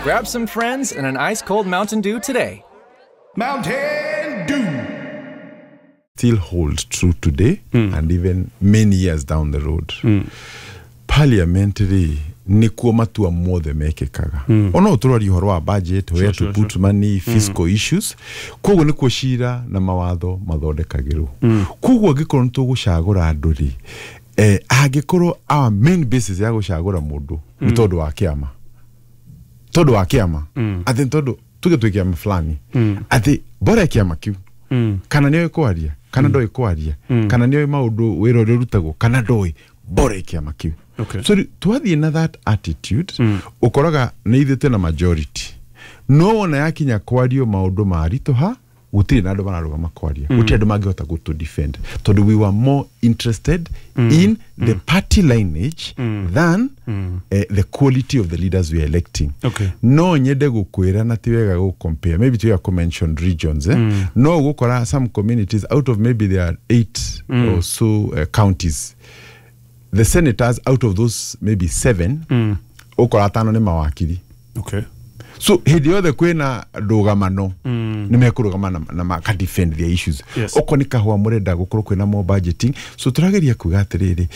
Grab some friends and an ice cold Mountain Dew today. Mountain Dew. Still hold true today and even many years down the road. Parliament rĩ, nĩkuo matua mothe mekĩkaga. Ona ũtũroria ũhoro wa budget, where to put money, fiscal issues. Koguo nĩkuo cira na mawatho mathondekagĩrwo. Koguo angĩkorwo nĩ tũgũcagũra andũ rĩ, angĩkorwo our main basis ya gũcagũra mũndũ nĩ tondũ wa kĩama, atĩ nĩ tondũ tuge twĩ kĩama fulani, atĩ bora kĩama kĩu, kana nĩoĩ kwaria kana ndoĩ kwaria, kana nĩoĩ maũndũ wĩra ũrĩa ũrutagwo kana ndoĩ, bora kĩama kĩu. So rĩu twathiĩ na that attitude, ũkoraga nĩ ithuĩ twĩna majority, no wona yakinya kwario maũndũ maritũha, gũtirĩ na andũ mararũgama kwaria, gũtirĩ andũ mangĩhota gũtũ defend, tondũ we were more interested in the party lineage than the quality of the leaders we are electing. No nyende gũkwĩra na ti wega gũ compare, maybe ti wega kũ mention regions, eh? No gũkora some communities, out of maybe there are eight or so counties, the senators out of those maybe seven, ũkora atano nĩ mawakiri. So hĩndĩ yothe kwĩna ndũgamano, nĩ mekũrũgama na maka defend their issues. Okorwo nĩ kahũa mũrenda gũkorwo kwĩna more budgeting, so tũrageria kuga atĩrĩrĩ,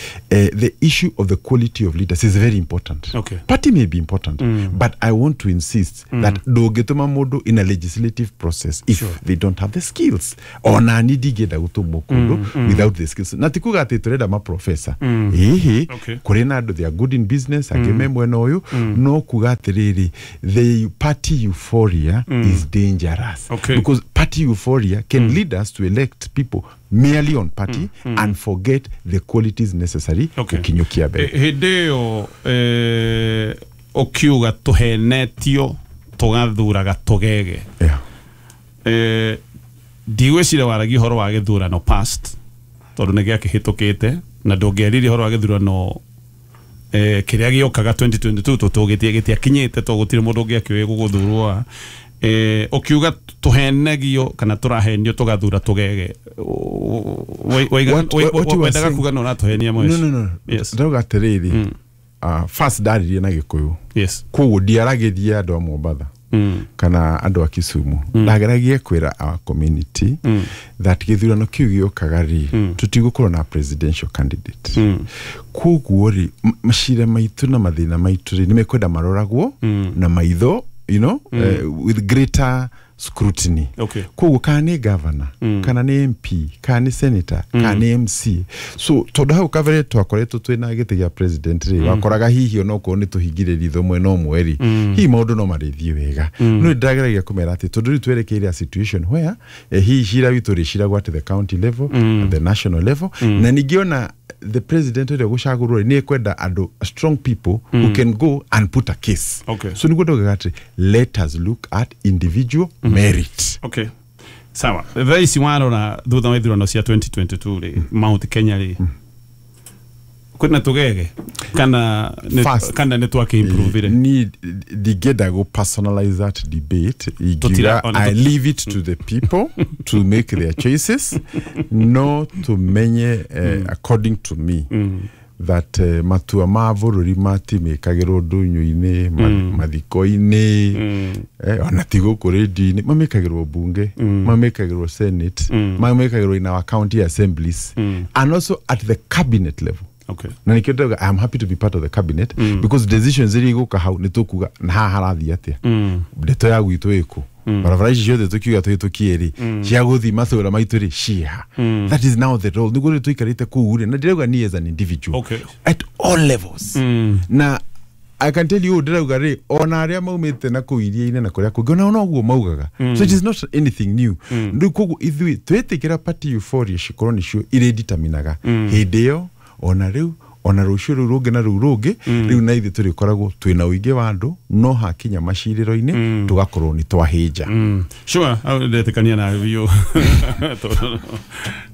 the issue of the quality of leaders is very important. Party may be important, but I want to insist that ndũngĩtũma mũndũ in a legislative process if they don't have the skills. Ona ni ndingĩenda gũtũmwo kũndũ without the skills, na ti kuga atĩ tũrenda maprofesa ĩhĩ. Kũrĩ na andũ they are good in business, angĩ me mwena ũyũ, no kuga atĩrĩrĩ, the party euphoria is dangerous because party euphoria can lead us to elect people merely on party and forget the qualities necessary gũkinyũkia mbere. Hĩndĩ ĩyo ũkiuga tũhenetio tũgathuraga tũgege, ndigwĩciria waragia ũhoro wa gĩthurano past, tondũ nĩ gĩakĩhĩtũkĩte, na ndũngĩaririe ũhoro wa gĩthurano kĩrĩa gĩũkaga 2022, tũtũgĩtie gĩtiakinyĩte, to gũtirĩ mũndũ ũngĩakĩũĩ gũgũthurwo. Ũkiuga tũhenegio kana tũrahenio tũgathura tũgege, What you were wendaga saying- kuga no ũratũhenia? No. Yes. Ndauga atĩrĩrĩ, first ndaririe na Gĩkũyũ, koguo ndiaragĩria andũ a Mombatha kana andũ a Kisumu. Ndageragie kwĩra our community that gĩthurano kĩu gĩũkaga rĩ, tũtigũkorwo na presidential candidate. Koguo rĩ, macira maitũ na mathĩna maitũ rĩ, nĩ mekwenda maroragwo na maitho with greater scrutiny. Koguo kana nĩ governor, kana nĩ MP, kana nĩ senator, kana nĩ MC, so tondũ hau kabere twakoretwo twĩna gĩtĩ gĩa president rĩ, wakoraga hihi onokorwo nĩ tũhingire ritho mwena ũmwe rĩ, hihi maũndũ no marĩthiĩ wega. No nĩndageragia kũmera atĩ tondũ rĩu twerekeire a situation where hihi cira witũ rĩciragwo at the county level, at the national level, na ningĩ ona the president ũrĩa ũgũcagũrwo rĩ, nĩ ekwenda andũ strong people who can go and put a case. So nĩguo ndaugaga atĩ let us look at individual merit. Okay, sawa. Thaa ici warora thutha wa ithurano cia 2022 rĩ, Mount Kenya rĩ, kwĩna tũgege kana First. kana nĩ twakĩimprovire? Ni ndingĩenda go personalize that debate. Tutira- Ingiuga ona I leave it to the people to make their choices. No tumenye, according to me, that matua ma bũrũri matimĩkagĩrwo ndũnyũ-inĩ, mathiko-inĩ, ona ti gũkũ rĩndio-inĩ. Mamĩkagĩrwo bunge, mamĩkagĩrwo senate, mamĩkagĩrwo in our county assemblies and also at the cabinet level. Na nikio ndauga I am happy to be part of the cabinet, because decisions iria igũka hau nĩ tũkuga na haha harathiĩ atĩa, ndeto ya gwitũ ĩkũ, barabara ici ciothe tũkiuga tũhĩtũkie rĩ, cia gũthiĩ matũra maitũ rĩ, ciĩha? That is now the role. Nĩguo rĩu tũikarĩte kũu rĩ, na ndĩrauga ni as an individual at all levels, na I can tell you, ndĩrauga rĩ, ona arĩa maumĩte na kũu iria-inĩ na kũrĩa kũngĩ, onao noguo maugaga. So it is not anything new. Rĩu koguo ithuĩ twĩtĩkĩra party euphoria cikorwo nĩcio irĩditaminaga hĩndĩ ĩyo, ona rĩu, ona rũciũ rũu rũngĩ na rũu rũngĩ, rĩu na ithuĩ tũrĩkoragwo twĩna ũingĩ wa andũ, no hakinya macirĩro-inĩ tũgakorwo nĩ twahĩnja. Sure, ndetĩkania nawe biũ. Tondũ